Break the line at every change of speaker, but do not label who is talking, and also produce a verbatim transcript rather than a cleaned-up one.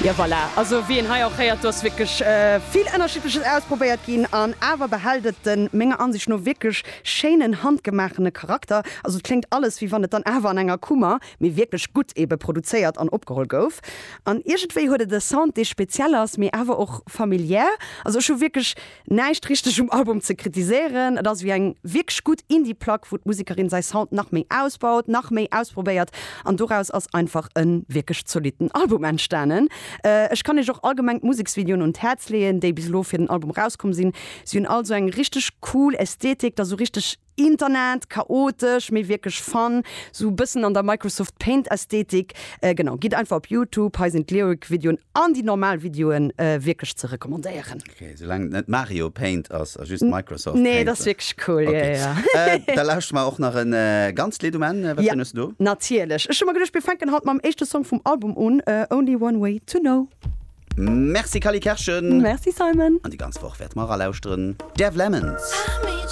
Ja voilà. Also wéi een hei och héiert, do ass wierklech äh, vill Ënnerschiddleches ausprobéiert ginn an awer behält et den menger Ansicht no wierklech schéinen handgemaachene Charakter. Also et kléngt alles wéi wann et dann awer an enger Kummer, mee wierklech gutt ebe produzéiert an opgeholl gouf. An iergendwéi huet et e Sound dee speziell ass, mee awer och familiär. Also ech hu wierklech näischt richteg um Album ze kritiséieren. Et ass wéi eng wierklech gutt Indie-Plack, wou d'Musekerin säi Sound nach méi ausbaut, nach méi ausprobéiert an doraus ass einfach e wierklech zolitten Album entstanen. Ech kann iech och allgemeng d'Museksvideoen un d'Häerz leeën, déi bis elo fir den Album rauskomm sinn. Si hunn all sou eng richteg cool Ästhetik, dat sou richteg Internet, chaotesch, mee wierklech fun, sou bëssen an der Microsoft Paint Ästhetik. Genau, gitt einfach op Youtube, hei sinn d'Lyric-Videoen an déi normal Videoen wierklech ze recommandéieren.
Ok, soulaang et net Mario Paint ass a just Microsoft
Paint. Nee, dat ass wierklech cool, jo, jo.
Da lauschtere mer och nach e ganzt Lidd um Enn. Wat fir een hues du do?
Natierlech. Ech hu mer geduecht, mir fänken haut mam éischte Song vum Album un, Only One Way To Know.
Merci Cally Kerschen.
Merci Simon.
An déi ganz Woch wäerte mer eralauschteren, Dev Lemons.